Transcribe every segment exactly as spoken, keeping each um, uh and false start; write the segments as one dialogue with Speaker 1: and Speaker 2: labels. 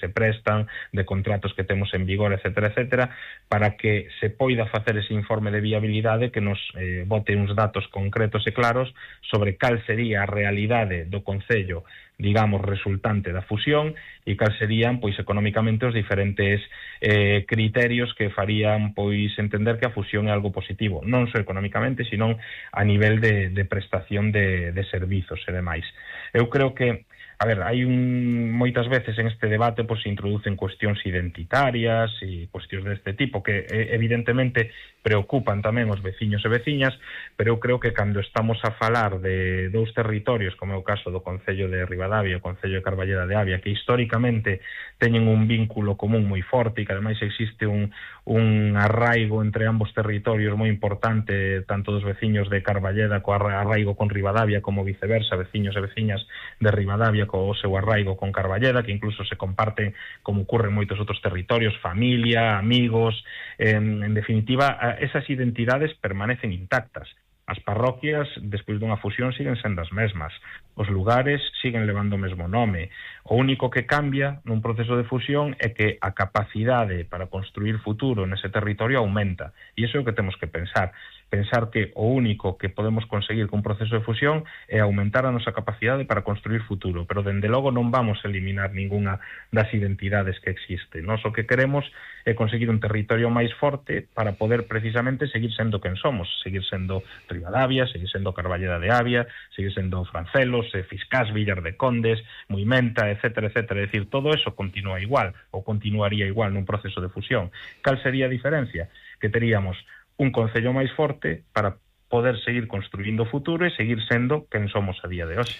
Speaker 1: se prestan, de contratos que temos en vigor, etcétera, etcétera, para que se poida facer ese informe de viabilidade que nos eh, bote uns datos concretos e claros sobre cal sería a realidade do concello, digamos, resultante da fusión e cal serían, pois, económicamente os diferentes eh, criterios que farían, pois, entender que a fusión é algo positivo, non só económicamente, sino a nivel de, de prestación de, de servizos e demais. Eu creo que A ver, hai un, moitas veces en este debate pues, se introducen cuestións identitarias e cuestións deste tipo que evidentemente preocupan tamén os veciños e veciñas, pero eu creo que cando estamos a falar de dous territorios, como é o caso do Concello de Ribadavia e o Concello de Carballeda de Avia, que históricamente teñen un vínculo común moi forte e que ademais existe un, un arraigo entre ambos territorios moi importante, tanto dos veciños de Carballeda co arraigo con Ribadavia como viceversa, veciños e veciñas de Ribadavia co seu arraigo con Carballeda, que incluso se comparten, como ocurre en moitos outros territorios, familia, amigos, en, en definitiva, esas identidades permanecen intactas. As parroquias, despois dunha fusión, siguen sendo as mesmas. Os lugares siguen levando o mesmo nome. O único que cambia nun proceso de fusión é que a capacidade para construir futuro nese territorio aumenta. E iso é o que temos que pensar. Pensar que o único que podemos conseguir con un proceso de fusión é aumentar a nosa capacidade para construir futuro, pero dende logo non vamos a eliminar ninguna das identidades que existen. Nós o que queremos é conseguir un territorio máis forte para poder precisamente seguir sendo quen somos, seguir sendo Ribadavia, seguir sendo Carballeda de Avia, seguir sendo Francelos, Fiscás, Villar de Condes, Muimenta, etcétera, etcétera. É dicir, todo eso continúa igual, ou continuaría igual nun proceso de fusión. Cal sería a diferencia? Que teríamos un concello máis forte para poder seguir construindo o futuro e seguir sendo quen somos a día de hoxe.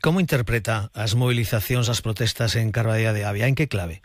Speaker 2: Como interpreta as movilizacións, as protestas en Carballeda de Avia? En que clave?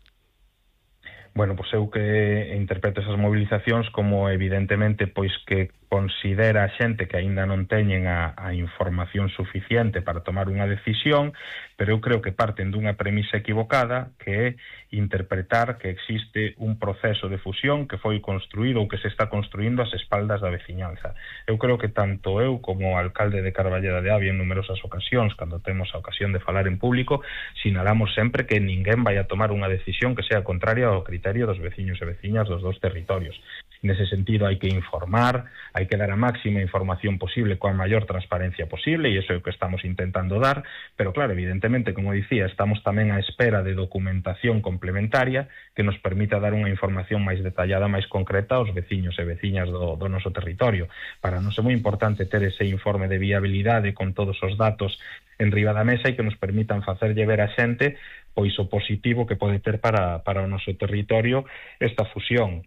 Speaker 1: Bueno, pois eu que interpreto esas movilizacións como evidentemente pois que considera a xente que aínda non teñen a, a información suficiente para tomar unha decisión, pero eu creo que parten dunha premisa equivocada, que é interpretar que existe un proceso de fusión que foi construído ou que se está construindo ás espaldas da veciñanza. Eu creo que tanto eu como o alcalde de Carballeda de Avia en numerosas ocasións, cando temos a ocasión de falar en público, sinalamos sempre que ninguén vai a tomar unha decisión que sea contraria ao criterio dos veciños e veciñas dos dous territorios. Nese sentido, hai que informar, hai que dar a máxima información posible coa maior transparencia posible, e iso é o que estamos intentando dar, pero claro, evidentemente, como dicía, estamos tamén á espera de documentación complementaria que nos permita dar unha información máis detallada, máis concreta aos veciños e veciñas do, do noso territorio. Para nós é moi importante ter ese informe de viabilidade con todos os datos en riba da mesa e que nos permitan facerlle ver a xente pois o positivo que pode ter para, para o noso territorio esta fusión.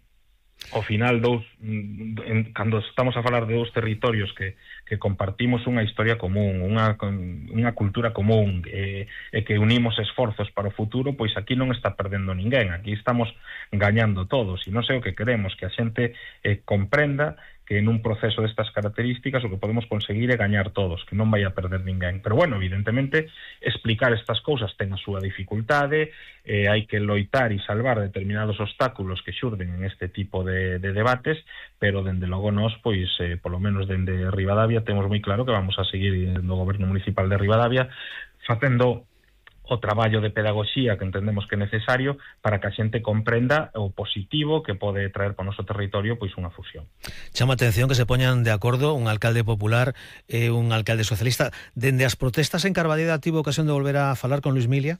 Speaker 1: Ao final, dous, en, cando estamos a falar de dous territorios que, que compartimos unha historia común, unha, unha cultura común, e, e que unimos esforzos para o futuro, pois aquí non está perdendo ninguén, aquí estamos gañando todos, e non sei o que queremos, que a xente eh, comprenda que en un proceso destas características o que podemos conseguir é gañar todos, que non vai a perder ninguén. Pero bueno, evidentemente, explicar estas cousas ten a súa dificultade, eh, hai que loitar e salvar determinados obstáculos que xurden en este tipo de, de debates, pero dende logo nós, pois, eh, polo menos dende Ribadavia, temos moi claro que vamos a seguir no Goberno Municipal de Ribadavia facendo o traballo de pedagogía que entendemos que é necesario para que a xente comprenda o positivo que pode traer para o noso territorio pois unha fusión.
Speaker 2: Chama a atención que se poñan de acordo un alcalde popular e un alcalde socialista. Dende as protestas en Carballeda tivo ocasión de volver a falar con Luis Milia?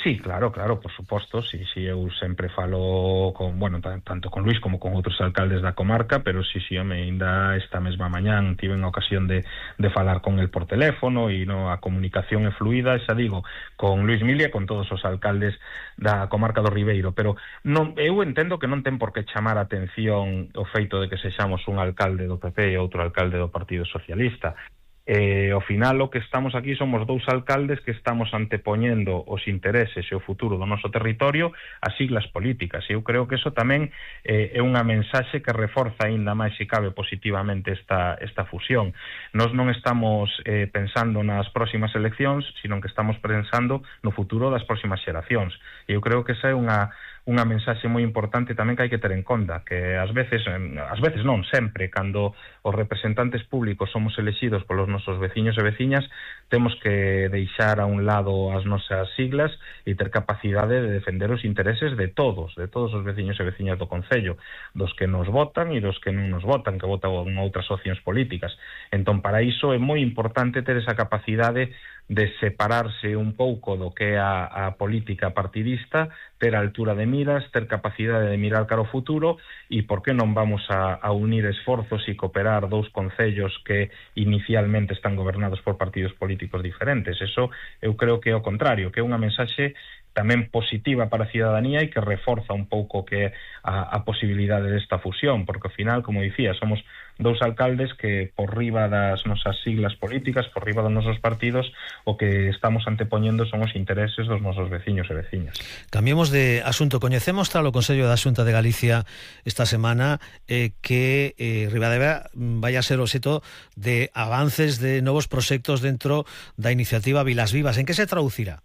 Speaker 1: Sí, claro, claro, por suposto, sí, sí, eu sempre falo con, bueno, tanto con Luis como con outros alcaldes da comarca, pero sí, sí, home, ainda esta mesma mañán tiven a ocasión de, de falar con el por teléfono e no, a comunicación é fluida, xa digo, con Luis Milia e con todos os alcaldes da comarca do Ribeiro, pero non, eu entendo que non ten por que chamar a atención o feito de que sexamos un alcalde do P P e outro alcalde do Partido Socialista. Eh, ao final o que estamos aquí somos dous alcaldes que estamos antepoñendo os intereses e o futuro do noso territorio as siglas políticas, e eu creo que eso tamén eh, é unha mensaxe que reforza aínda máis se cabe positivamente esta, esta fusión. Nós non estamos eh, pensando nas próximas eleccións, sino que estamos pensando no futuro das próximas xeracións, e eu creo que esa é unha unha mensaxe moi importante tamén que hai que ter en conta, que ás veces, ás veces non, sempre, cando os representantes públicos somos elexidos polos nosos nosos veciños e veciñas, temos que deixar a un lado as nosas siglas e ter capacidade de defender os intereses de todos, de todos os veciños e veciñas do Concello, dos que nos votan e dos que non nos votan, que votan outras opcións políticas. Entón, para iso é moi importante ter esa capacidade de separarse un pouco do que é a, a política partidista, ter a altura de miras, ter capacidade de mirar cara ao futuro e por que non vamos a, a unir esforzos e cooperar dous concellos que inicialmente están gobernados por partidos políticos diferentes. Eso eu creo que é o contrario, que é unha mensaxe tamén positiva para a cidadanía e que reforza un pouco que a, a posibilidade desta fusión, porque ao final, como dicía, somos dous alcaldes que por riba das nosas siglas políticas, por riba dos nosos partidos, o que estamos antepoñendo son os intereses dos nosos veciños e veciñas.
Speaker 2: Cambiemos de asunto. Coñecemos tras o Consello da Xunta de Galicia esta semana eh, que eh, Ribadavia vai a ser o xeto de avances de novos proxectos dentro da iniciativa Vilas Vivas. En que se traducirá?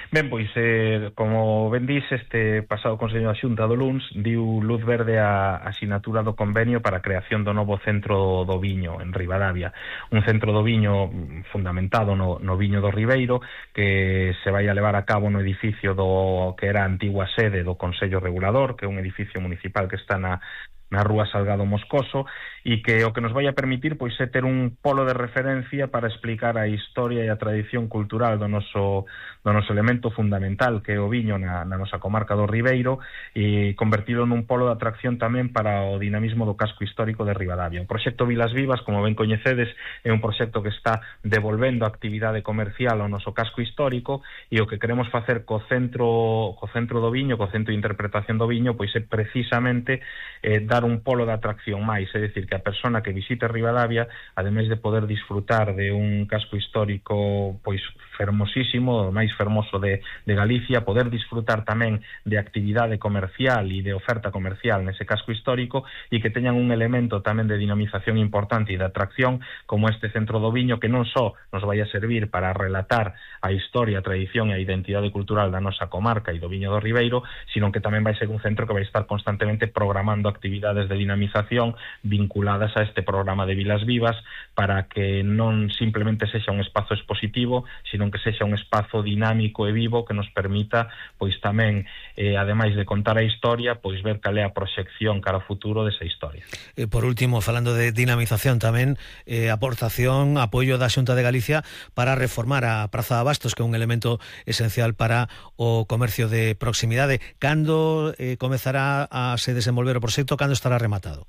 Speaker 1: Ben, pois, eh, como ben dís, este pasado Consello da Xunta do luns diu luz verde a asinatura do convenio para a creación do novo centro do viño en Ribadavia, un centro do viño fundamentado no, no viño do Ribeiro, que se vai a levar a cabo no edificio do que era a antigua sede do Consello Regulador, que é un edificio municipal que está na na Rúa Salgado Moscoso, e que o que nos vai a permitir pois é ter un polo de referencia para explicar a historia e a tradición cultural do noso, do noso elemento fundamental, que é o viño na, na nosa comarca do Ribeiro, e convertilo nun polo de atracción tamén para o dinamismo do casco histórico de Ribadavia. O proxecto Vilas Vivas, como ben coñecedes, é un proxecto que está devolvendo a actividade comercial ao noso casco histórico, e o que queremos facer co centro, co centro do viño, co centro de interpretación do viño, pois é precisamente eh, dar un polo de atracción máis, é dicir, que a persona que visite Ribadavia, ademais de poder disfrutar de un casco histórico pois fermosísimo, o máis fermoso de, de Galicia, poder disfrutar tamén de actividade comercial e de oferta comercial nese casco histórico, e que teñan un elemento tamén de dinamización importante e de atracción como este centro do viño, que non só nos vai a servir para relatar a historia, a tradición e a identidade cultural da nosa comarca e do viño do Ribeiro, sino que tamén vai ser un centro que vai estar constantemente programando actividades de dinamización vinculadas a este programa de Vilas Vivas, para que non simplemente sexa un espazo expositivo, sino que sexa un espazo dinámico e vivo que nos permita, pois tamén, eh, ademais de contar a historia, pois ver cal é a proxección cara ao futuro desa historia.
Speaker 2: E por último, falando de dinamización tamén, eh, aportación, apoio da Xunta de Galicia para reformar a Praza de Abastos, que é un elemento esencial para o comercio de proximidade. Cando eh, comezará a se desenvolver o proxecto? Cando estará rematado?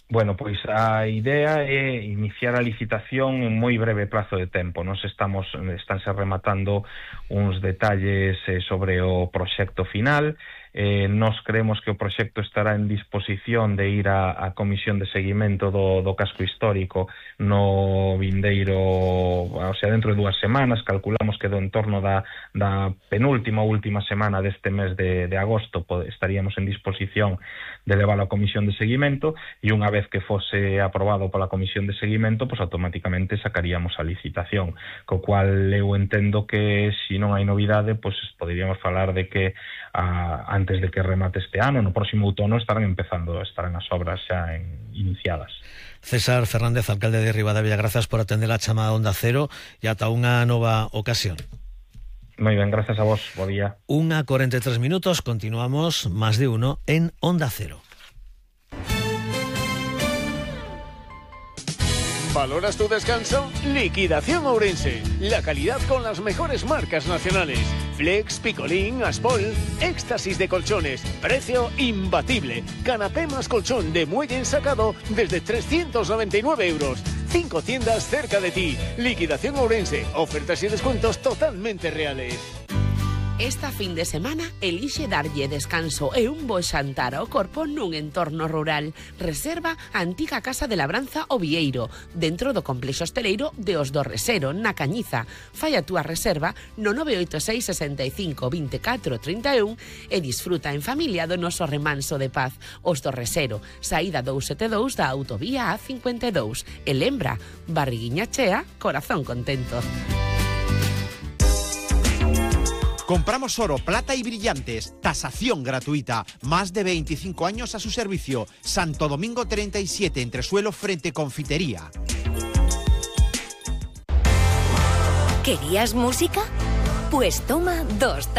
Speaker 1: Bueno, pois a idea é iniciar a licitación en moi breve plazo de tempo. Nos estamos, estánse rematando uns detalles eh, sobre o proxecto final. Eh, nos creemos que o proxecto estará en disposición de ir a, a comisión de seguimento do, do casco histórico no vindeiro, o sea, dentro de dúas semanas. Calculamos que do entorno da, da penúltima ou última semana deste mes de, de agosto pod, estaríamos en disposición de leválo a comisión de seguimento, e unha vez que fose aprobado pola comisión de seguimento, pues automáticamente sacaríamos a licitación, co cual eu entendo que se non hai novidade, pues poderíamos falar de que a, antes de que remate este ano, no próximo outono estarán empezando, estarán as obras xa en, iniciadas.
Speaker 2: César Fernández, alcalde de Ribadavia, grazas por atender a chamada Onda Cero e ata unha nova ocasión.
Speaker 1: Moi ben, grazas a vos, bo día.
Speaker 2: Unha cuarenta y tres minutos, continuamos Más de Uno en Onda Cero.
Speaker 3: ¿Valoras tu descanso? Liquidación Ourense. La calidad con las mejores marcas nacionales. Flex, Picolín, Aspol, éxtasis de colchones. Precio imbatible. Canapé más colchón de muelle ensacado desde trescientos noventa y nueve euros. Cinco tiendas cerca de ti. Liquidación Ourense. Ofertas y descuentos totalmente reales.
Speaker 4: Esta fin de semana elixe darlle descanso e un bo xantar ao corpo nun entorno rural. Reserva a antiga Casa de Labranza O Vieiro, dentro do complexo hosteleiro de Os do Resero, na Cañiza. Fai a túa reserva no nove oito seis, sesenta e cinco, veinticuatro, treinta e un e disfruta en familia do noso remanso de paz. Os do Resero, saída doscientos setenta e dous da autovía A cincuenta e dous. E lembra, barriguiña chea, corazón contento.
Speaker 5: Compramos oro, plata y brillantes. Tasación gratuita. Más de veinticinco años a su servicio. Santo Domingo treinta y siete, Entresuelo, frente Confitería.
Speaker 6: ¿Querías música? Pues toma dos tazas.